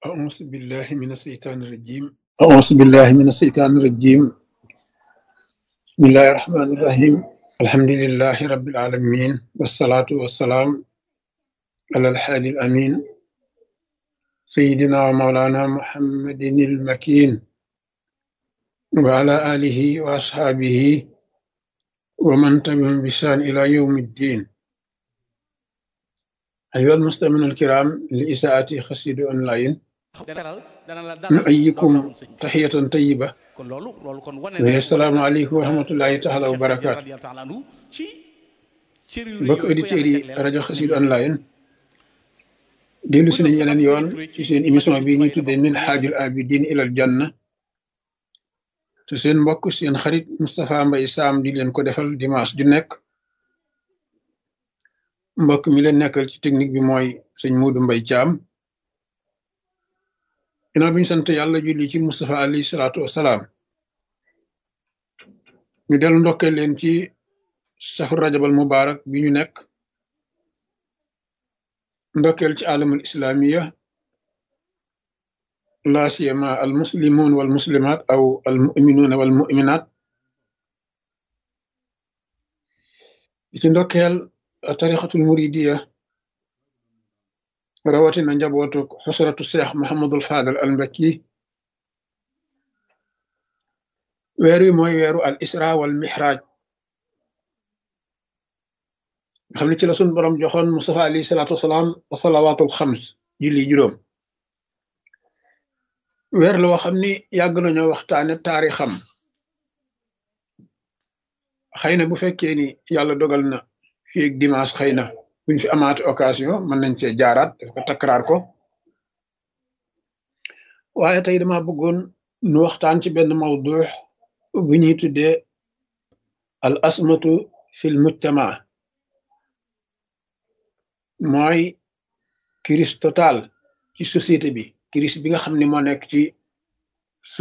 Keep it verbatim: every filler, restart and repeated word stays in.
أعوذ بالله من الشيطان الرجيم أعوذ بالله من الشيطان الرجيم بسم الله الرحمن الرحيم الحمد لله رب العالمين والصلاة والسلام على الحادي الأمين سيدنا ومولانا محمد المكين وعلى آله وأصحابه ومن تبعهم بإحسان إلى يوم الدين أيها المستمعون الكرام لإساءة خسيد أونلاين dalal dana la dalal door نؤيكم la woon sëñ bi تحية طيبة kon loolu loolu kon wane na وهي wane السلام na عليكم ورحمة الله تعالى Cheikh Tidiane وبركاته radiyallahu ta'ala anhu ci cër yu rëy mbokk yooyu ko auditeurs yàlla yi jagleel rajo nañ Xassida leen online dellu si bëggoon nañ sabab yeneen yu yoon rëy ci ci seen magi émission sëñ bi ñuy Tuubaa yi la tuddee bokk min kon yéen xaajul tamit abidin ilal janna te seen mbokk seen xarit Moustapha Mbaye Sam di leen ko defal dimanche ju nekk mbokk mi leen nekkal ci technique bi mooy sëñ Modou Mbaye Thiam ginnaaw bi ñu sant yàlla julli ci Moustapha alayhi salaatu wasalaam ñu dellu ndokkee leen ci safar rajabal mubarak bi ñu nekk ndokkeel ci alamul islamiya la siyama al muslimun wal muslimat aw al muminuna wal muminat ci ndokkeel tarixatul muridiya rawatina njabootu xusratu seex Muhammadul Fadal al Mbakki weer wi mooy weeru al isra wal mihraj nga xam ne ci la sun borom joxoon Mustafa alayhi salaatu wasalaam wa salawaatul xams julli juróom weer la woo xam ni yàgg nañoo waxtaane taarixam xëy na bu fekkee ni yàlla dogal na fii ak dimanche xëy na buñ fi amaate occasion mën nañ cee jaaraat daf ko takkaraar ko waaye tey dama bëggoon nu waxtaan ci benn mawdu bu ñuy tuddee al asmatu fil mujtama mooy crise totale ci société bi crise bi nga xam ne moo nekk ci